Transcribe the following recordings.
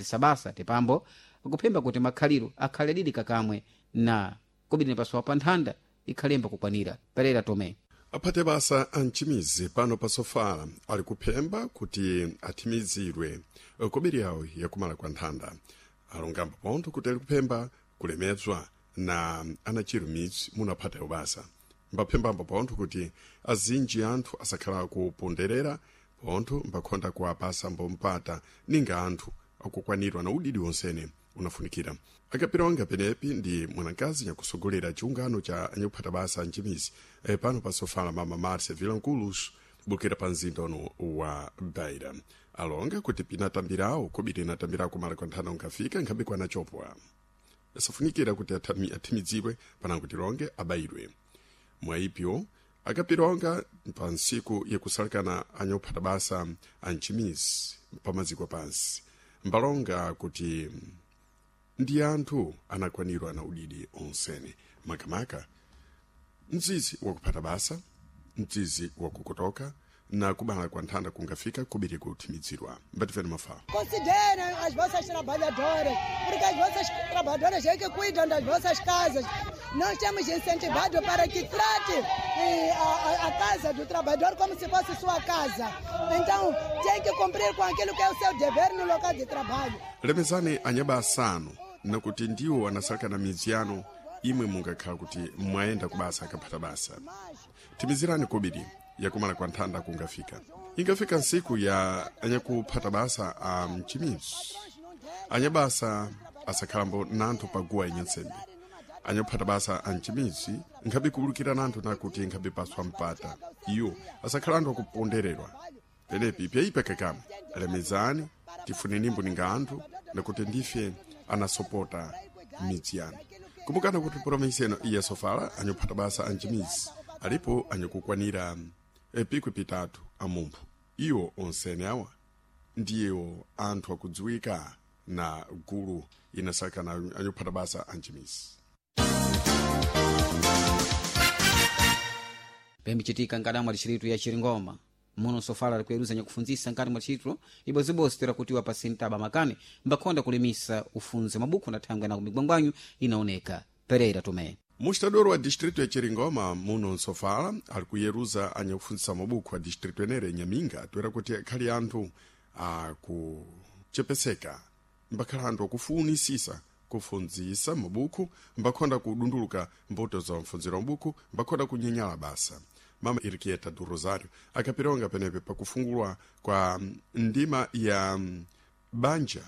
Sabasa tipambo akuphemba kuti makhaliro akhale adidi kakamwe na kobiri pasowa pa nthanda ikhalemba kukwanira. Pereira Tomé. Aphate basa amchimizi pano pa sofala ali kuphemba kuti athimizidwe kobiri yawo yakumala kwa nthanda. Alongamba pontho kuti ali kuphemba kulemedzwa na anachiro midzi munaphatayo basa. Mbaphembambo pontho kuti azinji anthu asakhala kuponderera pontho mbakhonda kuwapasa mbompata ninga anthu akukwanirwa na udidi wonsene unafunikira. Akapira penepi ndi mwanakazi nyakusogolera chiungano cha anyakuphata basa amchimizi pano pa sofala, mama Marcia Vilanculos, bukira pa mzinda uno wa Beira, alonga kuti pinatambirawo kobiri inatambirawo kumala kwa nthanda unkafika nkhabe kwanachopwa safunikira kuti athimidzidwe panango tilonge abayidwe. Mwaipyo akapilonga pa ntsiku yakusalekana anyakuphata basa amchimizi pamaziko pansi, mbalonga kuti ndi anthu anakwanirwa na udidi onsene, makamaka mzizi wakuphata basa, mzizi wakukotoka na kubala kwa nthanda kungafika kubiri kuthimidzirwa. Mbatifeni mafala. Considerem as vossas trabalhadoras, porque as vossas trabalhadoras é que cuidam das vossas casas. Nós temos incentivado para que trate a casa do trabalhador como se fosse sua casa. Então, tem que cumprir com aquilo que é o seu dever no local de trabalho. Lemezani anyaba asanu nakuti ndiwo anasalekana na midzi yanu imwe mungakhala kuti mwayenda kubasa akaphata basa. Thimizirani kobiri yakumala kwa nthanda kungafika. Ingafika ntsiku ya anyakuphata basa a mchimizi, anyabasa asakhalambo nanthu paguwa inyansembe. Anyakuphata basa a mchimizi nkhabe kuwulukira nanthu nakuti nkhabe paswa mpata iwo asakhala anthu akupondererwa. Penepi pyaipa kakamwe lemezani tifunenimbo ninga anthu nakuti ndife anasopota midzi yanu. Kumbukana kuti promisi eno iya sofala anyakuphata basa a mchimizi alipo anyakukwanira pikwi pitatu amumphu. Iwo onsene awa ndiwo anthu akudziwika na gulu inasakana anyakuphata basa amchimizi. Pembichitika nkati mwa dixiritu ya Chiringoma muno sofala likuyeruza nyakufundzisa nkati mwa dixiritu ibozibozi toera kutiwa pa sintaba makani mbakhonda kulimisa ufunze mabukho na thangwe na kumigwangwanyu inaoneka. Pereira Tomé. Mustadoro wa distrito ya Chiringoma muno nsofala ali kuyeruza anyakufundzisa mabukho a distrito enere Nyaminga toera kuti akhali anthu akuchepeseka, mbakhala anthu akufunisisa kufundzisa mabukhu, mbakhonda kudunduluka mbuto za mfunziro mabukhu, mbakhonda kunyenyala basa. Mama Irquieta do Rosário akapironga penepe pakufungulwa kwa ndima ya banja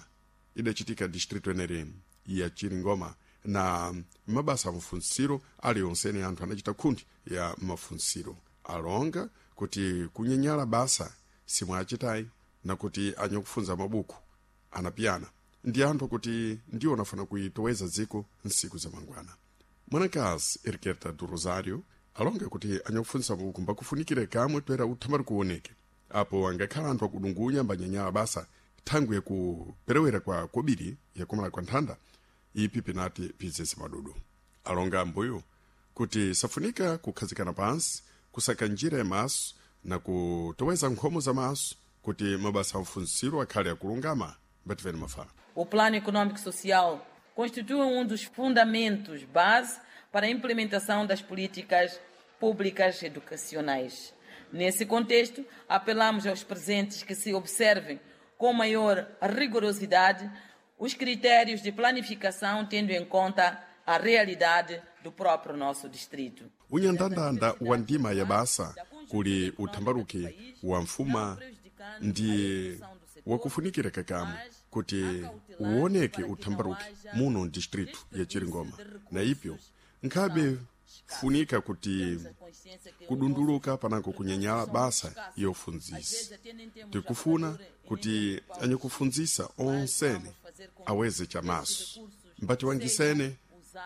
idachitika distrito enere ya Chiringoma na mabasa amfunziro ali onsene anthu anachita khundi ya mafunziro. Alonga kuti kunyenyala basa simwachitayi nakuti anyakufunza mabuku anapiyana ndi anthu kuti ndiwo anafuna kuitoweza dziko nsiku za mangwana. Mwanakazi Erkerta do Rosário alonga kuti anyakufunzisa mabuku mbakufunikire kamwe toera uthamari kuoneke apo angakhala anthu akudungunya mbanyanyala basa thangwi yakuperewera kwa kobiri yakumala kwa nthanda ipi pinati pizese madudu. Alonga ambuyo kuti safunika kukhazikana pansi kusaka njira ya maso na kutoweza nkhomo za maso kuti mabasa amfunziro akhale akulungama. Mbativeni mafala. O Plano Econômico Social constitui um dos fundamentos base para a implementação das políticas públicas educacionais. Nesse contexto, apelamos aos presentes que se observem com maior rigorosidade os critérios de planificação, tendo em conta a realidade do próprio nosso distrito. Unyandandanda wa ndima ya basa kuli uthambaruki wa mfuma ndi wakufunikira kakamwe kuti uoneke uthambaruki muno distrito ya Chiringoma na ipyo nkhabe funika kuti kudunduluka panako kunyenyala basa yofunzisa. Tikufuna kuti anyakufunzisa onsene aweze chamaso mbatiwangisene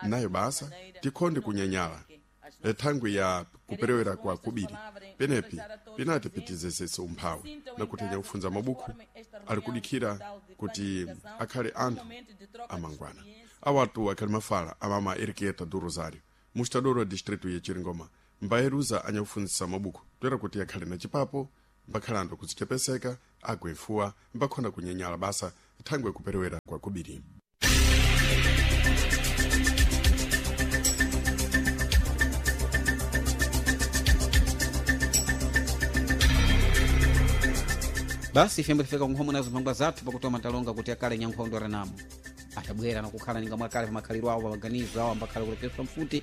nayo basa tikhonde kunyenyala thangwi ya kuperewera kwa kubiri penepi pinati pitizesese umphawi nakuti anyakufunza mabukhu ali kudikhira kuti akhale anthu amangwana. Awatu akhali mafala amama Erquieta do Rosário, mustadoro wa distrito ya Chiringoma, mbayeruza anyakufunzisa mabukhu toera kuti akhale na chipapo, mbakhala anthu akudzichepeseka agwefuwa, mbakhonda kunyenyala basa. Thangwe kuperewera kwa kubiri. Basi ifembe tifika kunkhomo nazo mphangwa zathu pakutoma talonga kuti akale nyankhondo aranamo atabwera nakukhala ninga mwakale pa makhaliro awo pamaganizo awo ambakhala kulepeswa mfuti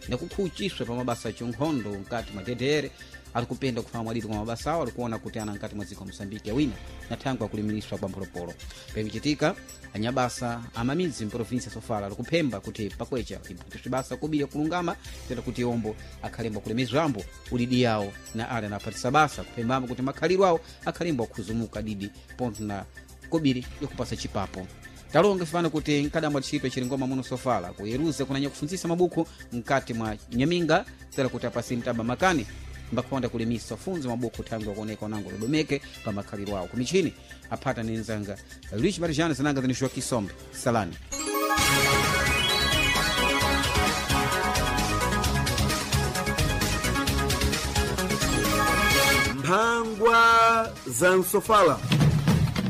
nakukhuchiswa pa mabasa achinkhondo mkati mwa DDR ali kupenda kufama mwadidi kwa mabasa awo alikuona kuti ana mkati mwa dziko Mosambiki awina na thangwe akulimiriswa kwa mpolopolo. Pemchitika anyabasa amamidzi mprovinsi ya Sofala alikuphemba kuti pakwecha iphatiswe basa kubiri kulungama tera kuti ombo akhalembo kulemezwambo udidi yawo na ale anaphatisa basa kuphembambo kuti makhaliro awo akhalembo akhuzumuka didi pontho na kobiri yakupasa chipapo. Talonga fana kuti nkadamwa tchito chilingoma muno Sofala kuyeruza kunanya kufunzisa mabuku mkati mwa nyaminga tera kuti apasi mtaba makani mbakhonda kulimisa funzo mabuku thangwe akuoneka unango ludomeke pa makhaliro awo kumichini aphata ni nzanga Luis Marijana zinanga zinixwa Kisombe salani. Mphangwa za Nsofala.